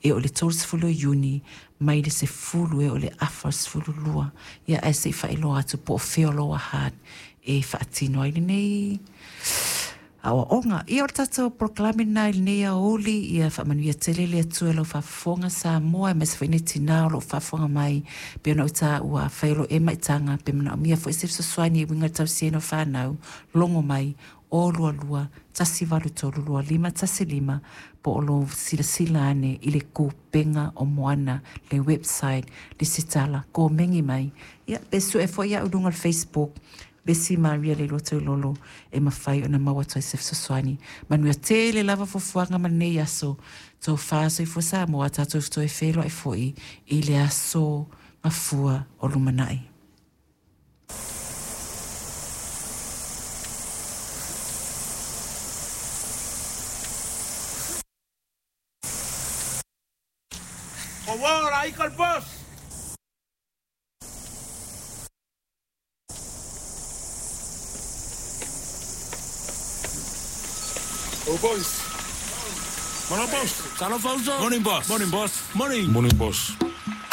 E oo i le 30 o Iuni mai le 10 e oo i le afa o le 12. Ia ae se i faailoa atu po o fea o Lower Hutt e faatino ai lenei aoaoga. Ia o le tatou polokalame lena i lenei aoauli, ia faamanuia tele le Atua i lau faafofoga Samoa, aemaise foi nei tinā o lo o faafofoga mai, pei ona ou taua, afai o lo o e maitaga, pe manaomia foi se fesoasoani e uiga i le tausiaina o fanau, logo mai 022 183 2515 po o lou silasila ane i le Kupenga o Moana, le website, lesitala, komeni mai, ia pe sue foi au i luga o le Facebook, Besi Maria Leiloa Toilolo, e mafai ona maua atu ai se fesoasoani. Manuia tele lava fuafuaga ma lenei aso. Tofa soifua Samoa, tatou toe feiloai foi i le aso Gafua o lumanai. Ua ika le boss. Oh boys. Morning boss. Talofa uso. Morning boss. Morning boss. Morning. Morning boss.